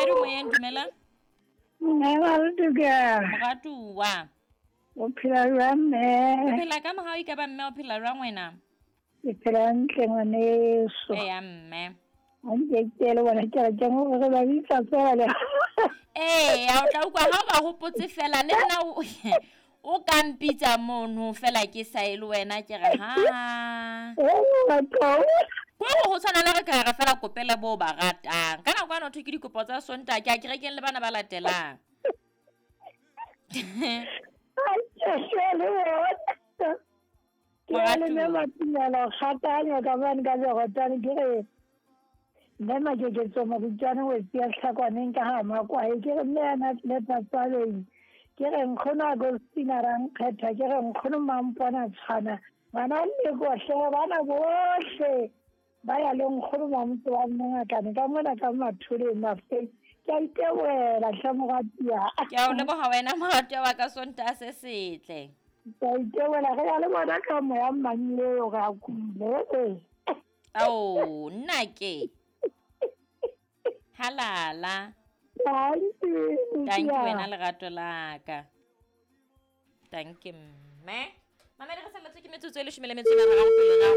Momamedi o moyeng, dumela. Mme Malduka. Moratuwa. O phela jwang mme? O phela ka mohau e ka ba mme o phela jwang wena? Ke phela hantle ngwaneso. Eya mme. Ha nke ke le bona ke re ke ngo re ba bitsa fela le. Eya o tla utlwa ha o ba hopotse fela le nna o o ka mpitsa mono fela ke sa e le wena ke re ha. Ko go tshwana le re ka re fela kopele bo ba ratang. Ka nako ano thwe ke dikopo tsa Sontaha ke a kerekeng le bana ba latelang. Ke a le mme Matumela kgatanya ka bane ka Jordan ke re mme Makeketso Moritwane wetsi ya Tlhakwaneng ka ga Makwae ke re mme yana le Patswaleng ke re nkgono Agostina Rankgetha ke re nkgono Mampona Tshwana ngwana Lekohle bana bohle ba ya le nkgono mamotse wa mmongakane ka mona ka matholeng mafeng ke a iteboela tlhe moratia. Ke a o leboga wena moratia wa ka Sontaha se setle. Ke a iteboela re ya le bona ka moya mmang leo re a kule. Ao nna ke halala. Thank you wena lerato la ka. Thank you mme. Mamedi re salletswe ke metsotso e leshome le metso e meraro pele ga